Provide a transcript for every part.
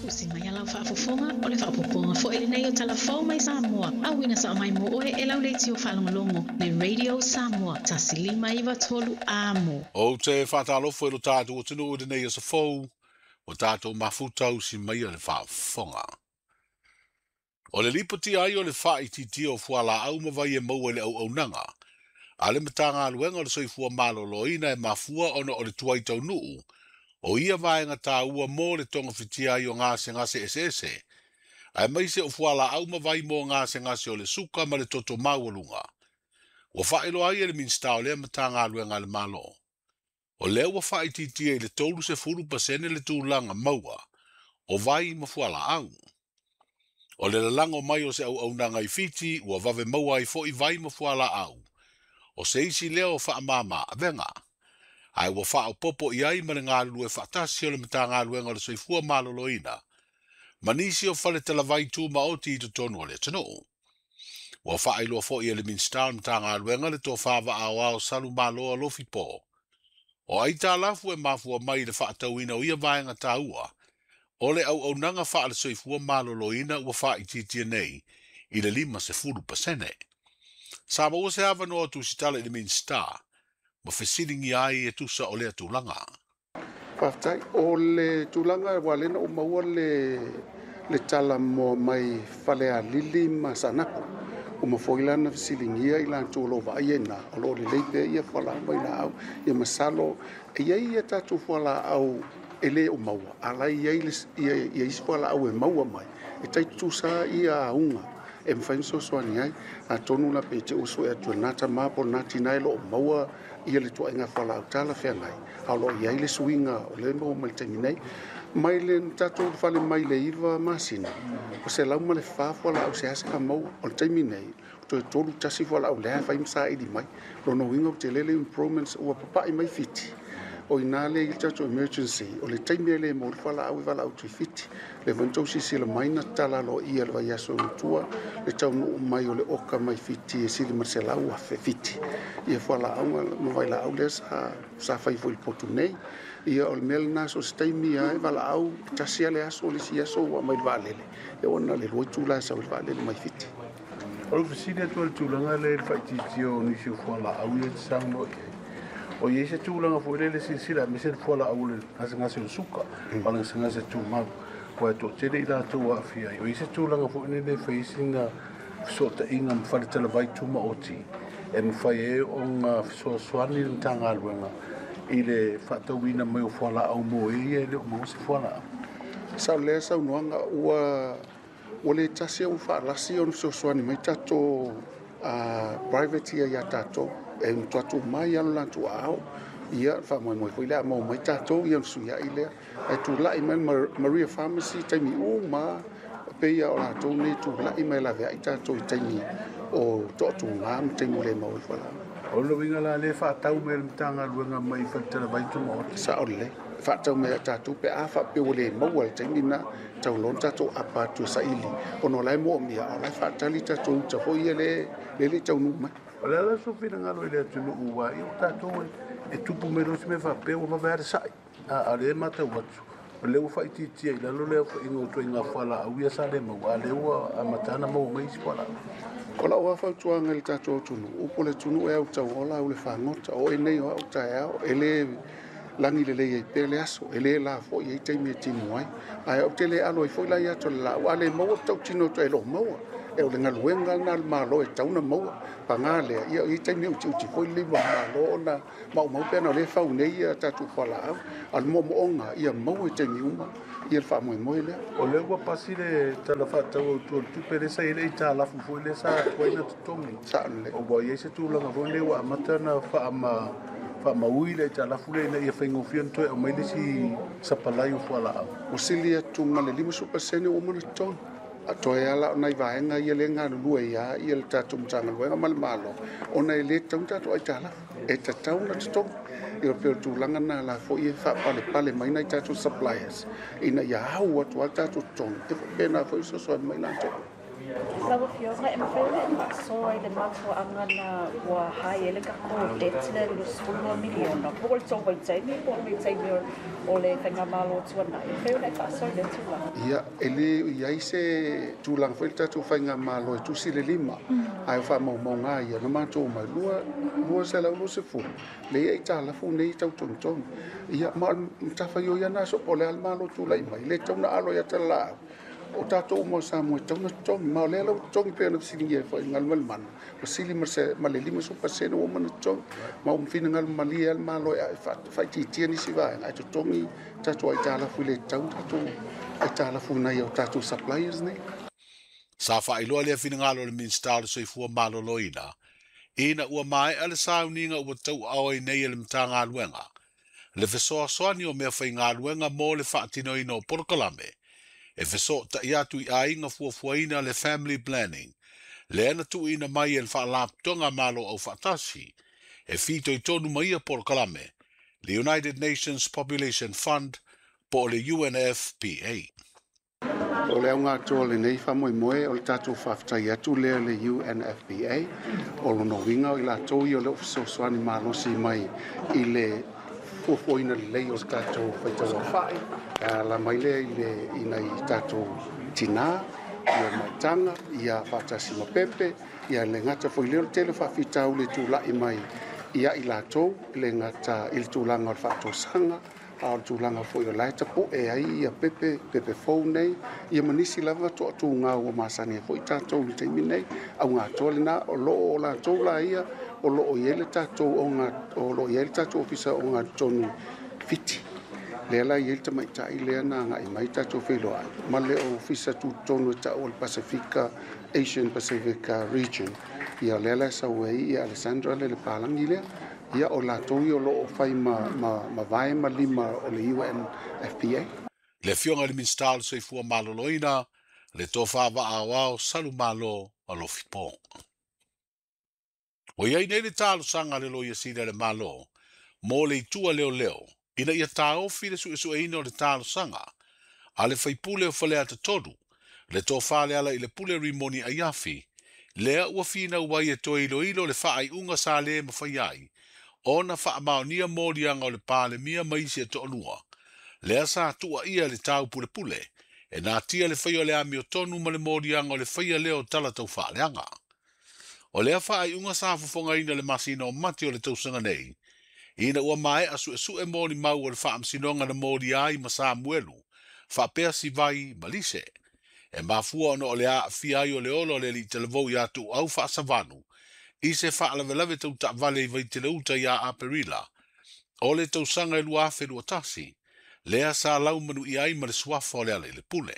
Usi mai lau faafofoga o le faaopoopoga foi lenei o Tala Fou mai Samoa, auina sao mai mo oe e lau leitio faalogologo le Radio Samoa 1593 Amo. Ou te faatalofa i lo tatou atunuu i lenei aso fou, ua tatou mafuta usi mai le faafofoga. O le lipoti ai o le faaitiitia o fualaau ma vai e maua i le auaunaga a le Matagaluega o le Soifua Maloloina e mafua ona o le tuai taunuu o ia vaega taua mo le togafitia ai o gasegase eseese, aemaise o fualaau ma vai mo gasegase o le suka ma le toto maualuga. Ua faailoa ai e le Minisita o lea Matagaluega a le Malo, o lea ua faaitiitia i le 30% le tulaga maua o vai ma fualaau. O le lalago mai o se auaunaga i Fiti ua vave maua ai foi vai ma fualaau, o se isi lea o faamama avega. Ae ua faaopoopo i ai ma le galulue faatasi o le Matagaluega o le Soifua Maloloina ma nisi o fale talavai tumaoti i totonu o le atunuu. Ua faailoa foi e le Minisita o le Matagaluega le tofa vaaoao Salumaloa Alofipo, o aitalafu e mafua mai i le faatauina o ia vaega taua o le auaunaga faale-soifua maloloina ua faaitiitia nei i le 50%. Sa maua se avanoa tusitala i le Minisita ma fesiligia ai e tusa o lea tulaga. Faafetai. O le tulaga ua lena ua maua le tala moa mai Falealili ma Saanapu. Ua mafai la na fesiligia i latou o lo o vaaia i ina, o lo o lelei pea ia fualaau ma vailaau. Ia masalo, e i ai ia tatou fualaau e le o maua, a la e i ai ia isi fualaau e maua mai, e tai tutusa ia auga e mafai ona fesoasoani ai. Atonu la pe te usu e atu e lena tama po o lena tina e lo o maua ia le tuaiga fualaau talafeagai, a o lo o i ai le suiga o lea e maua mai le taimi nei. Mai le tatou fale mai le 9 masina, o 104 fualaau seasea maua. O le taimi nei, toe 31 fualaau lea e fai ma saili mai. Lona uiga ua tele le improvements ua papai mai Fiti. O ina le i le tatou emergency, o le taimi e le maua le fualaau e valaau atu i Fiti. Le foi na tou silasila mai na tatala aloaia le vaiaso i tua, le taunuu mai o le oka mai Fiti e sili ma le 100,000 Fiti. Ia fualaau ma vailaau lea sa fai foi i le potu nei. Ia o le mea lena, so o se taimi lava e valaau, tasi lava le aso, le isi aso ua aumai le vaalele. Ia ona le 2 itula e sau i le vaalele mai Fiti. O le fesili atu ai le tulaga lea i le faaitiitia o nisi o fualaau ia e te saunoa i ai. O i ai se tulaga foi lele silasila aemaise le fualaau o le gasegase o le suka, o le gasegase tumau, ua e toatele i latou aafia ai. O i ai se tulaga foi lele e fai ai sina fesootaiga ma fale talavai tumaoti e mafai ai ona fesoasoani le Matagaluega i le faatauina mai o fualaau mo e ia e le o maua se fualaau. Sa o lea saunoaga ua le tasi ua faalasi ona fesoasoani mai tatou private ia ia tatou. E matuatu mai alo latou aao, ia faamoemoe foi le a maua mai tatou ia ona fesuiai lea. Ae tulai mai Maria Pharmacy taimi uma, pei o latou nei tulai mai laveai tatou i taimi o toatuga ma taimi o le maua i fualaau. O le uiga la le faatau mai le Matagaluega mai fale talavai tumaoti. Sao lelei. Faatau mai tatou pe a faapea ua le maua le taimi na tau loa tatou apa atu e saili. Ona o la e moomia, o la e faatali tatou uta foi ia le le taunuu mai. O le ala so finagalo i le atunuu ua i o tatou e tupu mai loa se mea faapea ua vave lava le sai. A o lea e matau atu, o lea ua faaitiitia i lalo le aofaiga o ituaiga fualaau ia sa le maua, a lea ua amata ona maua mai isi fualaau. O lau lava fautuaga i le tatou atunuu, upu o le atunuu e autauola au le fagota. O oe nei o au taeao, e le lagi lelei ai pea le aso, e le la foi ai taimi e timu ai. Ae ou te le alo ai foi la i atu o le laau, a le maua tautino atu e lo maua. E o le galuega lena a le Malo e tatau ona maua. Paga lea, ia i taimi e utiuti foi le lima o le Malo ona maumau pe ana o lea e fau nei ia tatou fualaau. A o le moomooga ia maua i taimi uma ia le faamoemoe lea. O lea ua pasi le tala faatatau autu o le tupe lea sa i ai le aitalafu foi lea sa tuai na totogi. Sao lelei. Ua i ai se tulaga foi lea ua amata ona faamaui le aitalafu lea ina ia faigofie ona toe aumai le isi sapalai o fualaau. Ua sili atu ma le 50% ua uma ona totogi. A toe ala o nai vaega ia le galulue ia ia le tatou Matagaluega ma le Malo, ona e le tatau ona tatou aitalafu, e tatau ona totogi. Ia pei o le tulaga lena la foi e faapalepale mai nai tatou suppliers ina ia au atu lava tatou totogi, e faapena foi fesoasoani mai latou. Lau Afioga, e mafai ona e faasoa i le mafuaaga na ua hai ai le tatou debt lea i le $22 miliona, po o le tou vaitaimi po o le vaitaimi o le faigamalo tuanai. E mafai ona e faasoa i lea tulaga? Ia, e le i ai se tulaga foi le tatou faigamalo e tusi le lima, ae o faamaumauga ia na matou omai 220, lea e aitalafu nei e tau togitogi. Ia, ma o le matafaioi lava lena, so po o le a le Malo tulai mai, le tatau ona alo i ata le laau. O tatou uma o Samoa e tatau ona totogi, ma o lea la ua totogi pei ona fesiligia ai foi i le Galumalemana, ua sili ma le 50% ua uma ona totogi. Ma ua finagalo malie lava le Malo e faaitiitia nisi vaega ae totogi tatou aitalafu i le tatau ona tatou aitalafu i nai o tatou suppliers nei. Sa faailoa lea finagalo o le Minisita o le Soifua Maloloina ina ua maea le sauniga ua tauaao ai nei e le Matagaluega le fesoasoani o meafaigaluega mo le faatinoina o polokalame e fesootai atu i aiga fuafuaina le family planning lea na tuuina mai e le Faalapotopotoga Malo Aufaatasi e fitoitonu ma ia polokalame le United Nations Population Fund po o le UNFPA. O le auga atoa o lenei faamoemoe o le tatou faafetai atu lea i le UNFPA. O lona uiga o i latou ia o lea ua fesoasoani malosi mai i le fuafuaina lelei o le tatou faitauaofai e ala mai lea i le i nai tatou tinā, ia maitaga, ia faatasi ma pepe, ia le gata foi lea o le tele o faafitauli e tulai mai ia i latou, le gata i le tulaga o le faatosaga, a o le tulaga foi o la e tapu'e ai ia pepe, pepe fou nei, ia ma nisi lava toatuga ua masani ai foi tatou i le taimi nei. Auga atoa lena, o lo o latou la ia, o lo o i ai le tatou oga, o lo o i ai le tatou ofisa ogatotonu Fiti. Lea la e i ai le tamaitai lea na agai mai tatou feiloai ma le ofisa tutotonu e tau o le Pasefika, Asian Pacific Region. Ia lea la e sau ai ia Alessandra le Palangi lea. Ia o latou ia o lo o fai ma, ma, ma vae ma lima o le UNFPA. Le Afioga i le Minisita o le Soifua Maloloina, le Tofa Vaa-aoao Salumalo Alofi Pong. Ua i ai nei le talosaga a le Loia Sili a le Malo mo le itu a leoleo ina ia taofi le suesueina o le talosaga a le faipule o Faleata 3, le Tofa Lealailepule Rimoni Aiafi, lea ua finau ai e toe iloilo le faaiuga sa le mafai ai ona faamaonia moliaga o le Palemia ma isi e toalua, lea sa tuuaia i le taupulepule e natia le faia o le amiotonu ma le moliaga o le faia lea o tala taufaaleaga. O lea faaiuga sa fofogaina le masina o Mati o le tausaga nei, ina ua maea suesue molimau o le faamasinoga na molia ai ma Samuelu, faapea Sivai ma Lise. E mafua ona o le aafia ai o le ola o le alii talavou ia Tuuau Faasavalu i se faalavelave tau taavale i Vaiteleuta ia Aperila o le tausaga e 2021, lea sa laumanuia ai ma le suafa o Lealailepule.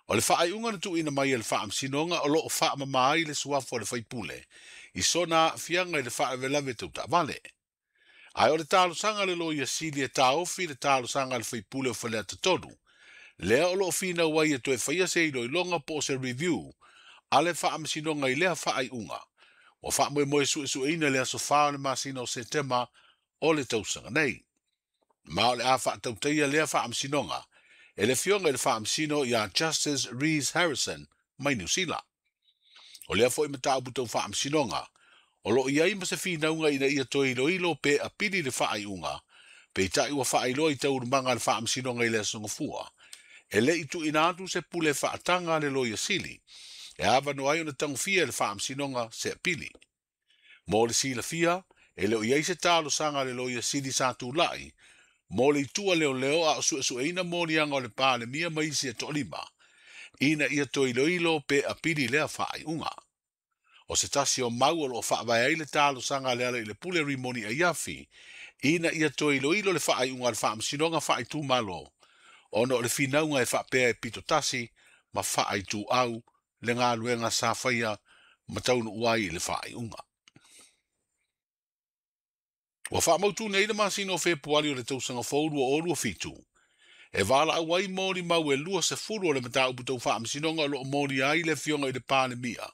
O le faaiuga na tuuina mai e le Faamasinoga o lo o faamama ai le suafa o le faipule i sona aafiaga i le faalavelave tau taavale. Ae o le talosaga a le Loia Sili e taofi le talosaga a le faipule o Faleata 3, lea o lo o finau ai e toe faia se iloiloga po o se review a le Faamasinoga i lea faaiuga ua faamoemoe suesueina i le aso 4 o le masina o Setema o le tausaga nei. Ma o le a faatautaia lea faamasinoga e le Afioga i le Faamasino ia Justice Rees Harrison mai Niu Sila. O lea foi mataupu tau faamasinoga o lo o i ai ma se finauga ina ia toe iloilo pe apili le faaiuga, peitai ua faailoa i taualumaga a le faamasinoga i le aso Gafua, e le i tuuina atu se pule faataga a le Loia Sili e avanoa ai ona tagofia e le faamasinoga se apili. Mo le silafia, e le o i ai se talosaga a le Loia Sili sa tulai mo le itu a leoleo a o suesueina moliaga o le Palemia ma isi e toalima, ina ia toe iloilo pe apili lea faaiuga. O se tasi o mau o lo o faavae ai le talosaga a Lealailepule Rimoni Aiafi ina ia toe iloilo le faaiuga a le Faamasinoga Faaitumalo ona o le finauga e faapea e pitotasi ma faaituau le galuega sa faia ma taunuu ai i le faaiuga. Ua faamautu nei le masina o Fepuari o le tausaga fou 2027, e valaau ai molimau e 20 o le mataupu tau faamasinoga o lo o molia ai le Afioga i le Palemia,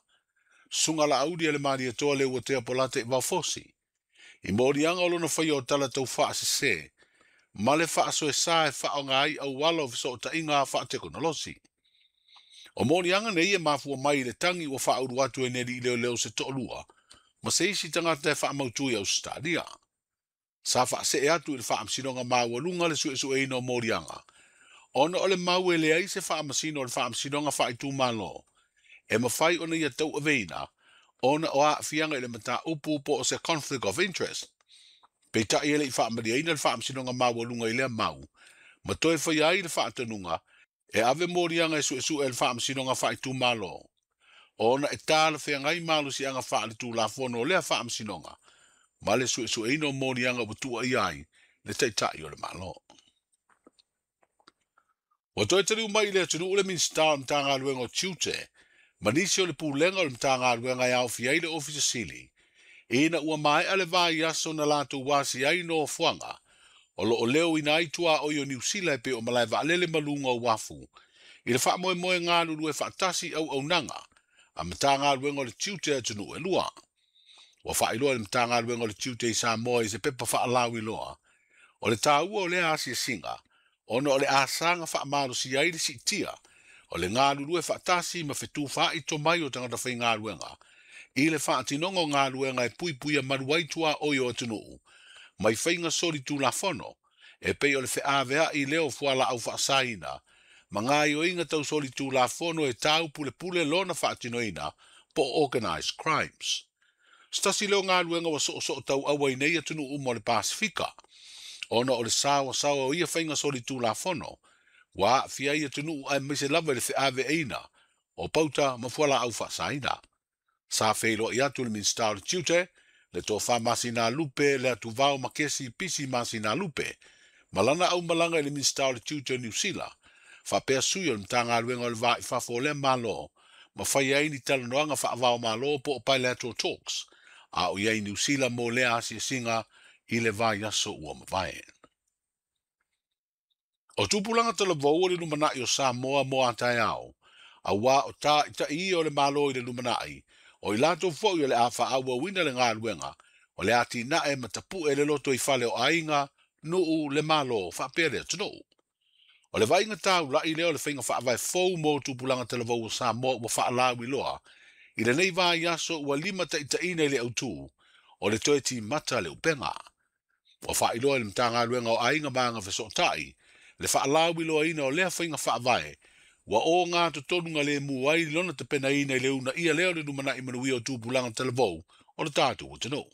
Susuga Laauli a le Malietoa Leuatea Polata i Vaofosi, i moliaga o lona faia o tala tau faasese ma le faasoesa e faaaoga ai auala o fesootaiga faatekonolosi. O moliaga nei e mafua mai i le tagi ua faaulu atu e ni alii leoleo se toalua ma se isi tagata e faamautu i Ausetalia. Sa faasee atu i le Faamasinoga Maualuga le suesueina o moliaga, ona o le mau e leai se faamasino o le Faamasinoga Faaitumalo e mafai ona ia tauaveina ona o aafiaga i le mataupu po o se conflict of interest. Peitai e le i faamalieina le Faamasinoga Maualuga i lea mau, ma toe faia ai le faatonuga e ave moliaga e suesue e le Faamasinoga Faaitumalo, ona e talafeagai malosiaga faaletulafono o lea faamasinoga ma le suesueina o moliaga ua tuuaia ai le Taitai o le Malo. Ua toe taliu mai i le atunuu le Minisita o le Matagaluega o Tiute ma nisi o le Pulega o le Matagaluega e aofia ai le Ofisa Sili, ina ua maea le vaiaso na latou asia ai nofoaga o loo leoina ai tuaoi o Niu Sila e pei o malae vaalele ma luga o uafu i le faamoemoe galulue faatasi auaunaga a Matagaluega o le Tiute atunuu e lua. Ua faailoa e le Matagaluega o le Tiute i Samoa i se pepa faalauiloa o le taua o lea asiasiga ona o le asaga faamalosia ai le siitia o le galulue faatasi ma fetufaai tomai o tagata faigaluega i le faatinoga o galuega e puipuia malu ai tuaoi o atunuu mai faiga solitulafono e pei o le feaveai lea o fualaau faasaina ma gaoioiga tau solitulafono e tau pulepule lona faatinoina po o organized crimes. Se tasi lea o galuega ua soosoo tauaua i nei atunuu uma o le Pasifika, ona o le saoasaoa o ia faiga solitulafono ua aafia ai atunuu aemaise lava i le feaveaiina o pauta ma fualaau faasaina. Sa feiloai atu le Minisita o le Tiute, le Tofa Masinalupe, le Atuvao Makesi Pisi Masinalupe, ma lana aumalaga i le Minisita o le Tiute o Niu Sila, faapea sui o le Matagaluega o le Va i Fafo o lea Malo, ma fai ai ni talanoaga faavaomalo po o bilateral talks, a o i ai Niu Sila mo lea asiasiga i le vaiaso ua mavae. O tupulaga talavou o le lumanai o Samoa mo a taeao, auā o taitai ia o le Malo i le lumanai, o i latou foi o le a faaauauina le galuega o le atinae ma tapu'e le lotoifale o aiga, nuu, le Malo faapea le atunuu. O le vaaiga taula'i lea o le faiga faavae fou mo tupulaga talavou o Samoa ua faalauiloa i lenei vaiaso ua limataitaiina i le autū o le toe timata le upega. Ua faailoa e le Matagaluega o Aiga ma Agafesootai le faalauiloaina o lea faiga faavae ua ogatotonu galemu ai lona tapenaina i le uunaia lea o le lumanai manuia o tupulaga talavou o le tatou atunuu.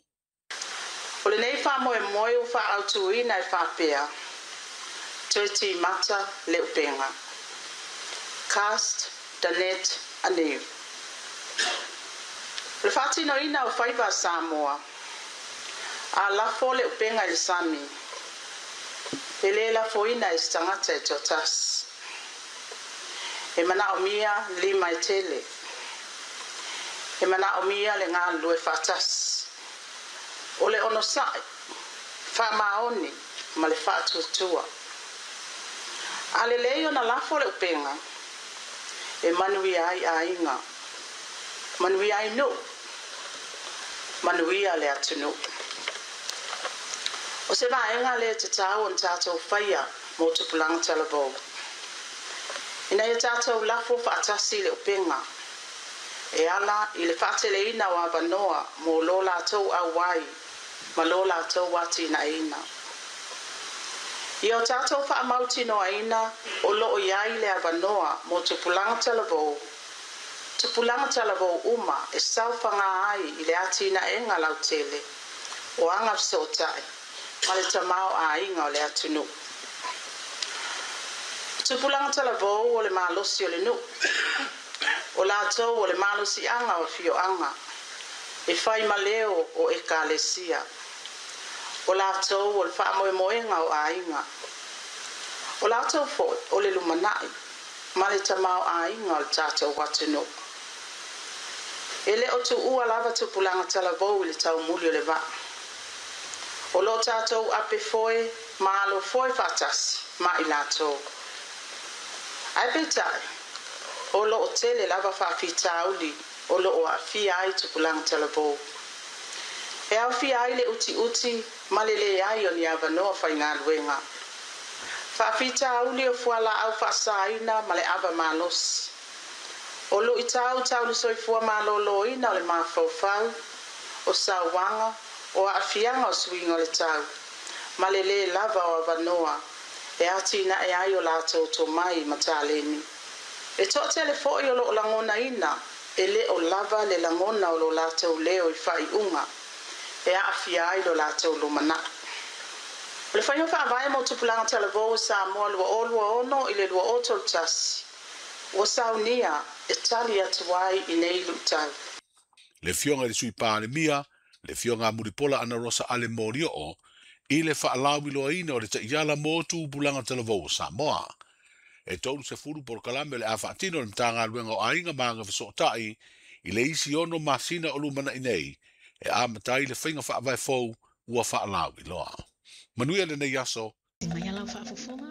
O lenei faamoemoe ua faaautuina e faapea, Toe timata le upega. Cast the net anew. O le faatinoina o faiva a Samoa, a lafo le upega i le sami, e lē lafoina e se tagata e toatasi. E manaomia lima e tele. E manaomia le galulue faatasi. O le onosai, faamaoni ma le faatuatua. A lelei ona lafo le upega, e manuia ai aiga, manuia ai nuu, manuia le atunuu. O se vaega lea e tatau ona tatou faia mo tupulaga talavou. Ina ia tatou lafo faatasi le upega, e ala i le faateleina o avanoa mo lo latou auai ma lo latou atinaeina. Ia o tatou faamautinoaina o loo i ai le avanoa mo tupulaga talavou, tupulaga talavou uma e saofaga ai i le atinaega lautele o agafesootai ma le tamaoaiga o le atunuu. O tupulaga talavou o le malosi o le nuu, o latou o le malosiaga o afioaga e fai ma leo o ekalesia. O latou o le faamoemoega o aiga. O latou foi o le lumanai ma le tamaoaiga o le tatou atunuu. E le o tuua lava tupulaga talavou i le taumuli o le vaa. O loo tatou ape foe ma alo foe faatasi ma i latou. Ae peitai, o loo tele lava faafitauli o loo aafia ai tupulaga talavou. E aofia ai le utiuti ma le leai o ni avanoa faigaluega. Faafitauli o fualaau faasaina ma le ava malosi. O luʻitau tau le soifua malōlōina o le mafaufau, o sauaga, o aafiaga o suiga o le tau, ma le lē lava o avanoa e atinae ai o latou tomai ma taleni. E toatele foʻi o loo lagonaina e lē o lava le lagona o lo latou leo i faaiuga e aafia ai lo latou lumanai. O le faiga faavae mo tupulaga talavou o Samoa 2026 i le 2031 ua saunia e tali atu ai i nei luʻitau. Le Afioga i le Sui Palemia, le Afioga Mulipola Anarosa Ale Molioo, i le faalauiloaina o le taiala mo tupulaga talavou o Samoa. E 30 polokalame o le a faatino e le Matagaluega o Aiga ma Agafesootai i le isi 6 masina o lumanai nei, e amata ai le faiga faavae fou ua faalauiloa. Manuia lenei aso. Mai alau faafofoga.